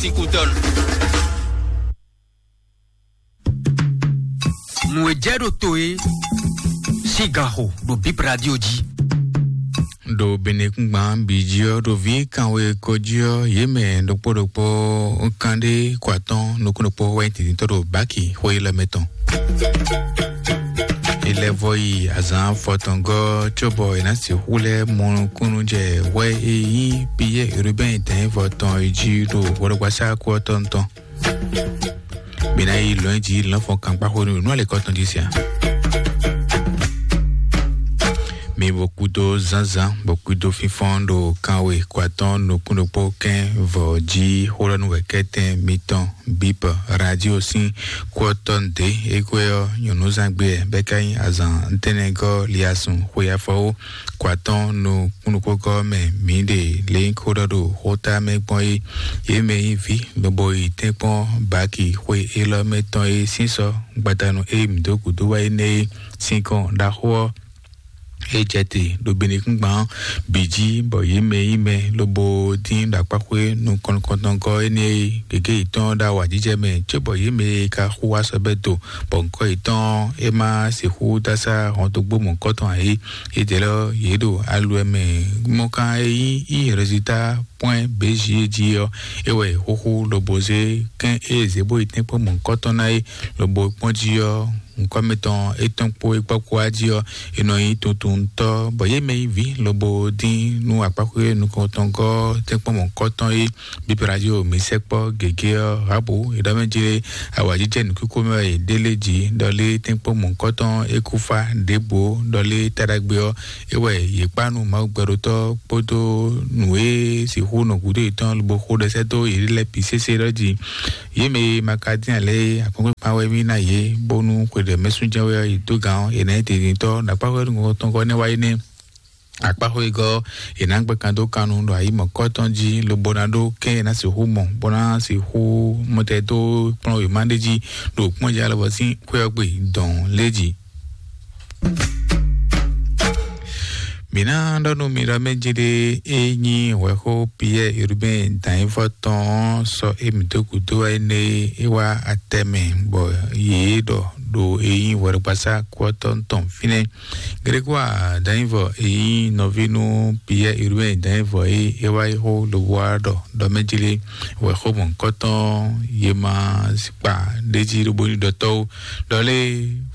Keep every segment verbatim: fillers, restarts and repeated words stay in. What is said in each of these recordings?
Écoutons. Nǔ e jɛ ɖo to e sín ganxo ɖo Bip Radio jí. Ɖo Benekúngban bǐ jí ɔ́, ɖo vǐ kanwe ko jí ɔ́, yě mɛ ɖokpó ɖokpó kanɖé kɔ atɔ́ nukún ɖokpó wɛ nyí tǐtítɔ́ ɖo báki xwé lɛ́ɛ mɛ tɔn. Ilɛvɔ yi azǎn fɔtɔngɔ́ cóbɔ è nǎ sixú lɛ́ mɔ nukúnnú jɛ hwɛ e nyí Piyɛ́ɛ Urubɛ́n dɛ̌nvɔ tɔn e jí ɖo hwɛɖɔgbasá kú ɔ́ tɔn tɔn. Mi ná yi lɔ̌nyijǐ lɔ̌nfɔn kankpáxwenu nú alɛkɔ tɔn jí siá. Mi bo kúdó zánzán, bo kúdó fínfɔ́n ɖo kanwe kɔ atɔ́ nukún ɖokpó kɛ́n vɔ jí xó lɔ nú wɛ̌kɛ́tɛn mitɔn Bip Radio sín kú ɔ́ tɔn ɖě. É gbé ɔ́, nyɔ̌núzán gbé wɛ, bɔ é ka nyí azǎn ntɛ́nɛgɔ́ liasun xwe afɔwó kɔ atɔ́ nukún ɖokpó gɔ́ mɛ mǐ ɖe lě nyí xó ɖɔ ɖo xóta mɛ gbɔn é. Yě mɛ nyí vǐ lobo yi tɛ́nkpɔ́n baki xwe élɔ́ mɛ tɔn e sín sɔ́ gbadanu e mǐ dó gǔdo wá énɛ́ é sín kɔn ɖaxó ɔ́, é jɛ te ɖo Benekúngban ɔ́ bǐ jí, bɔ yě mɛ nyí mɛ lobo dín ɖo akpáxwé nukɔn nukɔntɔngɔ́ énɛ́ e gěgé yětɔn ɖo awǎjijɛ mɛ, cóbɔ yě mɛ e ka xú wá sɔ́ bɛ́ do, bɔ ŋkɔ́ yětɔn é ma sixú dó asá hɔntogbó mɔ̌hunkɔtɔn ǎ é. Yědɛɛ lɛ́ɛ ɔ́, yě ɖo aluwɛ mɛ. Mɔkan e nyí yi résultat point B J jí ɔ́, é wɛ xúxú lobo zé kɛ́n e zě bó yi tɛ́nkpɔ́n mɔ̌hunkɔtɔn ná é, lobo kpɔ́n jí ɔ́, nukɔn mǐtɔn étɔn kpó é kpɔ́ kpó wá jí ɔ́, è nɔ nyí tuntuntɔ́, bɔ yě mɛ nyí vǐ lobo dín nú akpáxwé nukɔntɔngɔ́ tɛ́nkpɔ́n mɔ̌hunkɔtɔn é. Bíbélì jí o, mǐ sɛkpɔ́ gěgé ɔ́, Rabu, è ɖɔ mɛ jí lé, awǎjijɛ nǔkúkú mɛ wɛ è ɖe lé jí, ɖɔ lé tɛ́nkpɔ́n mɔ̌hunkɔtɔn é kú fá ɖěbǔ, ɖɔ lé taɖagbe ɔ́, é wɛ yě kpá nú Mawu gbɛɖótɔ́ kpódó nǔ e sixú nɔ gǔdo yětɔn lobo xo ɖɛsɛ́ dó yě lɛ́ɛ bǐ sésé ɖɔ jí. Yě mɛ e ma ka dín alě akɔ́nkpinkpan wɛ mì ná yě, bónú xwe ɖě mɛ sú jɛ́n wɛ ɔ́, yě dó gǎn ɔ́, yě ná nyí dǐndíntɔ́ ɖo akpáxwé nukɔntɔn ɔ́ nɛ́ wá é nɛ́. Akpáxwé gɔ́, è nǎ gbɛ́ kan dó kan nu ɖo ayi mɔ̌kɔ́tɔn jí, lobo ná ɖó kɛ́n è nǎ sixú mɔ, bó ná sixú mɔtɛn dó kplɔ́n wěma ɖé jí ɖo kpɔ́njɛ alɔvɔ sín xwé ɔ́ gbe dɔn lé jí. Mǐ ná ɖɔ nú mi ɖɔ mɛ jí ɖé, é nyí hwɛxó Piyɛ́ɛ Urubɛ́n dǎnyífɔ tɔn ɔ́ sɔ́ émí dó gǔdo wá énɛ́ é wá atɛ mɛ, bɔ yě ɖɔ ɖo e nyí hwɛɖɔgbasá kú ɔ́ tɔn tɔn fínɛ́. Grégoire Danyivɔ e nyí nɔví nú Piyɛ́ɛ Urubɛ́n Danyivɔ e é wá yi xó lobo wá ɖɔ ɖɔ mɛ jí lé wɛ xó mɔ̌hunkɔtɔn ye ma kpa ɖ'é jí lobo ní ɖɔ tɔ́ ó. Ɖɔ lé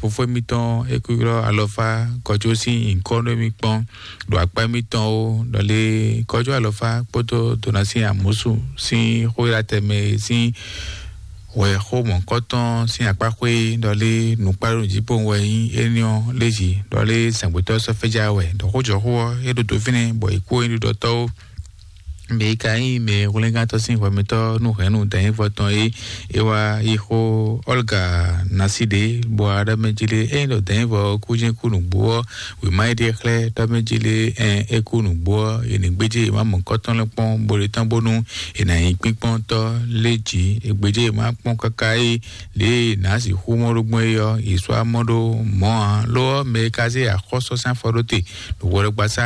fofó émítɔn é kú ylɔ́ alɔfá kɔjó sín nyǐkɔ nú émí kpɔ́n ɖo akpá émítɔn ó. Ɖɔ lé kɔjó alɔfá kpódó Donasi Amusu sín xó ylá tɛnmɛ sín wɛ xó mɔ̌hunkɔtɔn sín akpáxwé ɖɔ lé nǔkpáɖó nǔjíkpowun wɛ nyí éní ɔ́ lé jí, ɖɔ lé zǎngbétɔ́ sɔ́ fɛ́já wɛ, ɖɔ xójɔxó ɔ́ é ɖo dǒ fínɛ́, bɔ è kú é ɖiɖɔtɔ́ ó. Mɛ e ka nyí mɛ hwlɛ́ngántɔ́ sín hwɛmɛtɔ́ nú hɛ̌nnu dɛ̌nyífɔ tɔn é, é wá yi xó Ɔ́lga Nasiɖe, bɔ aɖɔ́ mɛ jí lé, ényí ɖɔ dɛ̌nyífɔ kú jɛ́n kú nǔgbó ɔ́, wěma e ɖe xlɛ́ ɖɔ mɛ jí lé, ɛn é kú nǔgbó ɔ́, è nǐ gbéjé wěma mɔ̌hunkɔtɔn lɛ́ɛ kpɔ́n, bó ɖe tán bónú è nǎ nyí kpínkpɔ́ntɔ́ lé jǐ. È gbéjé wěma kpɔ́n káká é lě e nǎ sixú mɔ ɖó gbɔn é ɔ́, yi sɔ́ amɔ ɖó mɔ̌ ǎ. Lo ɔ́, mɛ e ka zé axɔ́sɔ́sán afɔ ɖó te ɖo hwɛɖɔgbasá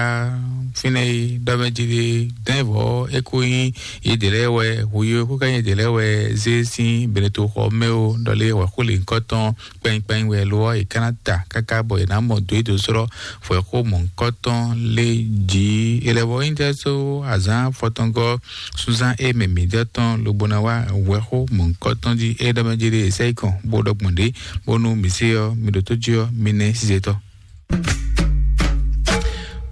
fínɛ́ é ɖɔ mɛ jí ɖé dɛ̌nvɔ é kó nyí yědɛɛ lɛ́ɛ wɛ, hweyó é kó ka nyí yědɛɛ lɛ́ɛ wɛ zé sín Benetoxɔ mɛ ó, ɖɔ lé wǎxúlǐnkɔ́tɔn kpɛnyikpɛnyi wɛ lo ɔ́, è ka ná ta káká bɔ è nǎ mɔ dǒ é dó slɔ́ hwɛ̌xó mɔ̌hunkɔtɔn lé jí. È lɛ́ vɔ nyí jɛ só azǎn fɔtɔngɔ́ súnzán e mɛ mǐ jɛ tɔn lobo ná wá hwɛ̌xó mɔ̌hunkɔtɔn jí é ɖɔ mɛ jí ɖé è sɛ́ yi kɔn bó ɖɔ gbɔn ɖě, bónú mǐ se ɔ́, mi ɖo tó jí ɔ́, mi nɛ́ sizetɔ́.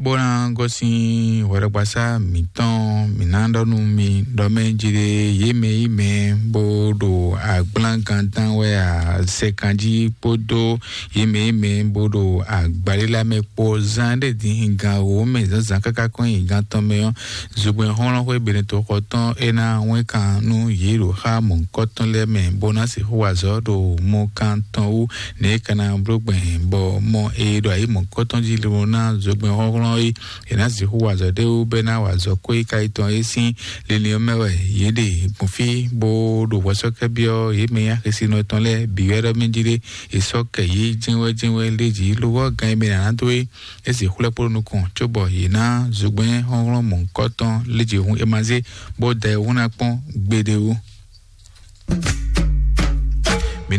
Bó ná gosín hwɛɖɔgbasá mǐtɔn, mǐ ná ɖɔ nú mi ɖɔ mɛ jí ɖé yě mɛ yí mɛ bó ɖo agblán gantán wɛ a, sɛkan jí kpódó yě mɛ yí mɛ bó ɖo agbalílá mɛ kpó. Zán ɖé dín gan wǒ mɛ zǎnzǎn káká kɔn nyi gan tɔn mɛ ɔ́, zogbɛ́n xɔ́nlɔ́n xwé Benetoxɔ tɔn é ná wɛ́n kan nú yě ɖo xá mɔ̌hunkɔtɔn lɛ́ɛ mɛ, bó ná sixú wa azɔ̌ ɖo mɔ kan tɔn wú. Nɛ̌ é ka ná bló gbɛn bɔ mɔ e ɖo ayǐ mɔ̌hunkɔtɔn jí lobo ná zogbɛ́n xɔ́nlɔ́n é, è nǎ sixú wa azɔ̌ ɖé wú bɔ é ná wa azɔ̌ kó é ka yi tɔn é sín linlin ɔ́ mɛ wɛ yě ɖe gbɔn fí, bó ɖo hwɛsɔ́kɛ́byɔ́ yě mɛ nyí axisínɔ tɔn lɛ́ɛ bǐ wɛ ɖɔ mɛ jí ɖé. È sɔ́ kɛ yě jɛ́nwɛ́jɛ́nwɛ́ lé jǐ, lo ɔ́, gan e mɛ è nǎ ná dó é, é sixú lɛ́ kpo ɖo nukɔn, cóbɔ yě ná zogbɛ́n xɔ́nxɔ́n mɔ̌hunkɔtɔn lé jǐ hun é ma zé, bó da ɛ wú ná kpɔ́n gbeɖé wú.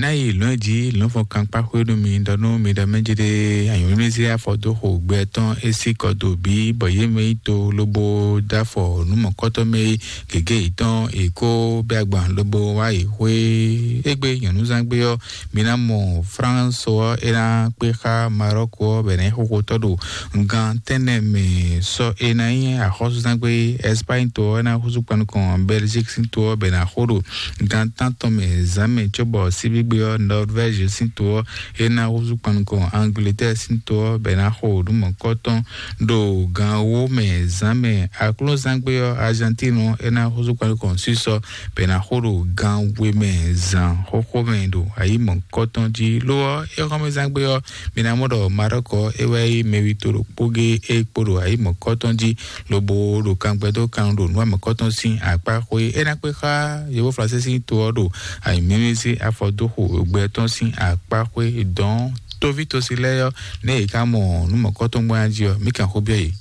Ná yi lɔ̌n jí lɔ̌nfɔn kankpá xwé nú mi ɖɔ nú mi ɖɔ mɛ jɛɖɛ anyǔmísí afɔ dó xo gbɛ tɔn é sí kɔ dó bí bɔ yě mɛ yi to lobo dó afɔ nú mɔ̌kɔtɔn mɛ yi gěgé yětɔn è kó bɛ́ agban lobo wá yi xwé. Égbé nyɔ̌núzán gbé ɔ́, mi ná mɔ Fránso ɔ́ é ná kpé xá Marɔ́ko ɔ́ bɔ è nǎ nyí xóxótɔ́ ɖo gan tɛ́nnɛ mɛ. Sɔ è nǎ nyí axɔ́súzán gbé Ɛspány to ɔ́ é ná húzú kpan nukɔn Bɛlzík sín to ɔ́ bɔ è nǎ xo ɖo gan tántɔn mɛ zǎn mɛ cóbɔ síbígbe ɔ́ Nɔrvɛ́zi sín to ɔ́ é ná húzú kpan nukɔn Angletɛ́ɛ sín to ɔ́ bɔ è nǎ xo nǔ mɔ̌kɔtɔn ɖo gan wó mɛ zǎn mɛ. Aklúnzán gbé ɔ́ Argentine ɔ́ é ná húzú kpan nukɔn sísɔ bɔ è nǎ xo ɖo gan we mɛ zǎn xóxó mɛ ɖo ayǐ mɔ̌kɔtɔn jí. Lo ɔ́, éxɔ́mɛzán gbé ɔ́, mi ná mɔ ɖɔ Marɔ́kɔ é wɛ nyí mɛwi to ɖokpó gé é kpo ɖo ayǐ mɔ̌kɔtɔn jí lobo ɖo kangbɛ dó kan ɖo nǔ amɔ̌kɔtɔn sín akpá xwé. É ná kpé xá yovó Fransé sín to ɔ́ ɖo ayǐmímí sín afɔdóxo gbɛ tɔn sín akpá xwé dɔn tóví tosi lɛ́ɛ ɔ́, nɛ yě ká mɔ nǔ mɔ̌kɔtɔn gbɔn jí ɔ́, mí kan xó byɔ́ yě.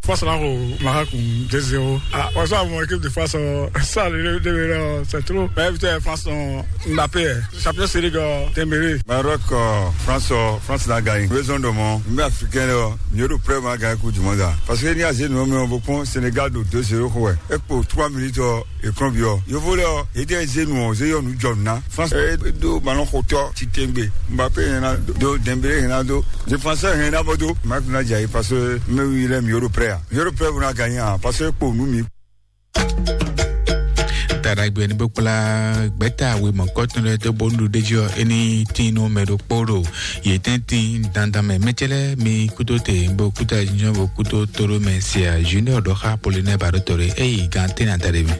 France là au Maroc deux zéro. Ah, on joue à mon équipe de France, euh, ça, le, le, le, le, c'est trop. Mais putain, France, on, Mbappé, euh, champion série de Dembélé. Maroc, euh, France, euh, France l'a gagné. Raison de mon, mais africain, là, mieux de près, m'a gagné Coupe du Monde, là. Parce que ni a zé nous, mais on va prendre Sénégal de deux zéro, quoi. Et pour trois minutes, euh, écran viol. Yo volé, euh, et des zé nous, on zé, on nous, John, là. France, euh, do ballon hauteur, Titengbe, Mbappé, il y en a do, Dembélé, il y en a do, défenseur, il y en a do. Marc Nadjaï, parce que, mais oui, il est mieux de près, hein. Mieux de près, on a gagné, hein, parce que pour nous, mi- Tadagbe ni bó kplá gbɛta awe mɔkɔtɔn lɛ tó bó nu ɖe jí ɔ, eni tin nú mɛ ɖokpó ɖo yě tɛn tin dandan mɛ. Mɛtsɛlɛ mi kútó te bó kútó ayinjɔn bó kútó tóró mɛ sia junior ɖɔ xa Apollinaire Baɖó Toré eyi gan tɛn na da ɖe mɛ.